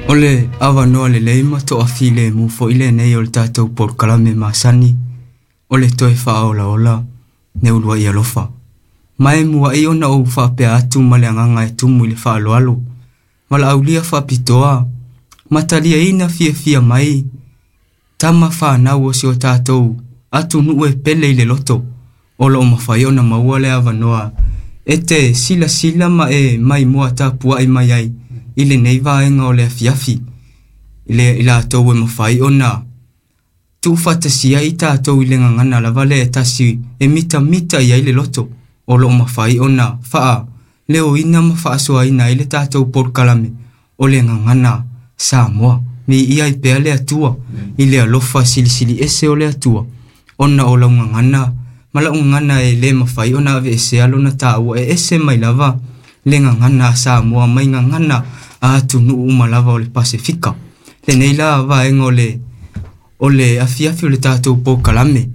O le avanoa lelei ma toafilemu foi lenei o le tatou polokalame masani o le toe faaolaola le uluai alofa. Ma e muai ona ou faapea atu ma le agaga e tumu i le faaaloalo, valaaulia faapitoa ma taliaina fiafia mai tama fanau o si o tatou atunuu e pele i le loto, o lo o mafai ona maua le avanoa e te silasila ma e maimoa tapuai mai ai i lenei vaega o le afiafi, i latou e mafai ona tuufaatasia i tatou i le gagana lava lea e tasi e mitamita i ai le loto, o lo o mafai ona faaleoina ma faasoaina ai le tatou polokalame o le gagana Samoa. Viia ai pea le Atua i le alofa silisili ese o le Atua, ona o lau gagana ma lau gagana e le mafai ona aveesea lona taua e ese mai lava le gagana a Samoa mai gagana a atunuu uma lava o le Pasefika. Lenei la vaega o le afiafi o le tatou polokalame,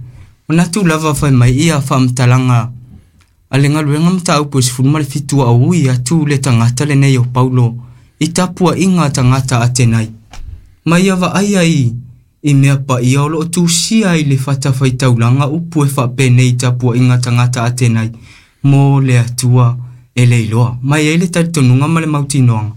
manatu lava fai mai ia faamatalaga a le galuega mataupu e 17 a ui atu le tagata lenei o Paulo i tapuaiga a tagata Atenai. Ma ia vaai ai i mea paia o lo o tusia i le fatafaitaulaga upu e faapenei tapuaiga tagata Atenai mo le Atua e le iloa. Ma e i ai le talitonuga ma le mautinoaga,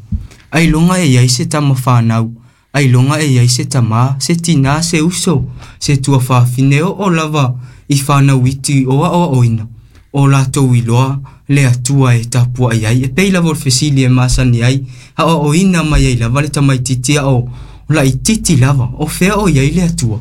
ailoga e i ai se tama fanau, ailoga e i ai se tamā, se tinā, se uso, se tuafafine, oo lava i fanau iti o aoaoina, o latou iloa le Atua e tapuai ai. E pei lava o le fesili e masani ai, aoaoina mai ai lava le tamaitiiti ao laitiiti lava, o fea o i ai le Atua?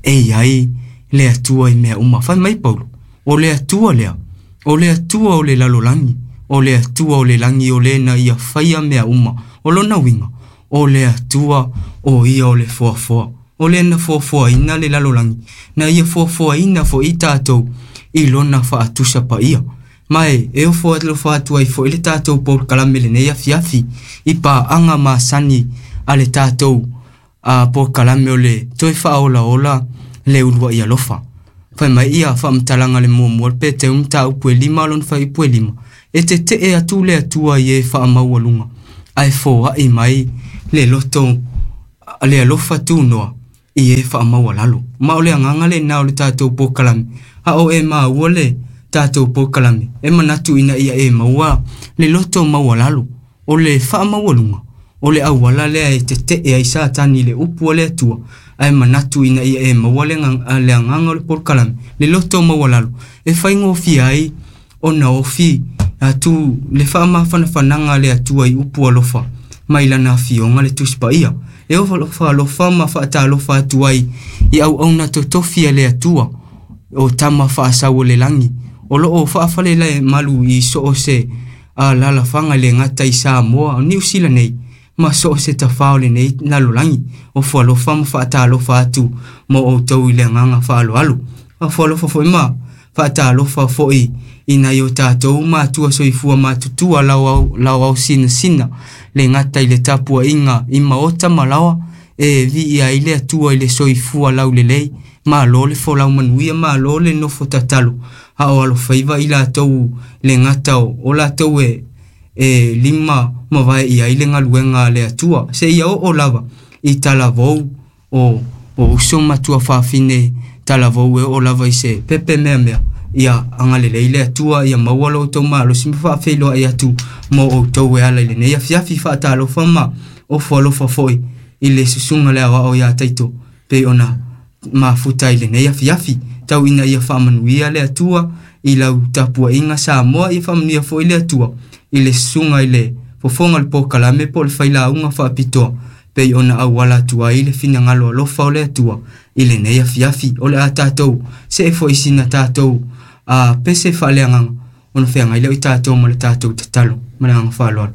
E i ai le Atua i mea uma. Fai mai Paulo, o le Atua lea, o le Atua o le lalolagi, o le Atua o le lagi o le na ia faia mea uma. O lona uiga, o le Atua o ia o le foafoa. O le na foafoaina le lalolagi, na ia foafoaina foi tatou i lona faatusa paia. Ma e ofo alofa atu ai foi le tatou polokalame lenei afiafi i paaga masani a le tatou polokalame o le toe faaolaola le uluai alofa. Fai mai ia faamatalaga le muamua le Peteu mataupu e 5 lona fuaiupu e 5. E tetee atu le Atua i e faamaualuga, ae foai mai le loto le alofa tunoa i e faamaualalo. Ma o le agaga lena o le tatou polokalame, a o e maua le tatou polokalame, e manatu ina ia e maua le loto maualalo. O le faamaualuga, o le auala lea e tetee ai Satani i le upu a le Atua, ae manatu ina ia e maua le agaga o le polokalame, le loto maualalo, e faigofie ai ona ofi atu le faamafanafanaga a le Atua i upu alofa mai lana afioga le Tusi Paia. E ofo alofa ma faatalofa atu ai i auauna totofi a le Atua o tama faasau o le lagi, o lo o faafalelemalu malu i so o se alalafaga le gata i Samoa, o Niu Sila nei, ma so o se tafao o lenei lalolagi. Ofo alofa ma faatalofa atu mo outou i le agaga faaaloalo. Ofo alofa foi ma faatalofa foi i nai o tatou matua soifua matutua laoao sinasina le gata i le tapuaiga i maota ma laoa, e viia ai le Atua i le soifua laulelei, malo le folau manuia, malo le nofo tatalo, a o alofaiva i latou le gata o latou e lima mavae i ai le galuega a le Atua, seia oo lava i talavou o uso matua fafine talavou e oo lava i se pepe meamea. Ia agalelei le Atua, ia maua lo outou malosi ma faafeiloai atu mo outou e ala i lenei afiafi. Faatalofa ma ofo alofa foi i le susuga le aoao ia Taito pei ona mafuta i lenei afiafi. Tau ina ia faamanuia le Atua i lau tapuaiga Samoa, ia faamanuia foi le Atua i le susuga i le fofoga o le polokalame po o le failauga faapitoa pei ona auala atu ai le finagalo alofa o le Atua i lenei afiafi. O le a tatou see foi sina tatou pese faaleagaga ona feagai lea o i tatou ma le tatou tatalo ma le agaga faaaloalo.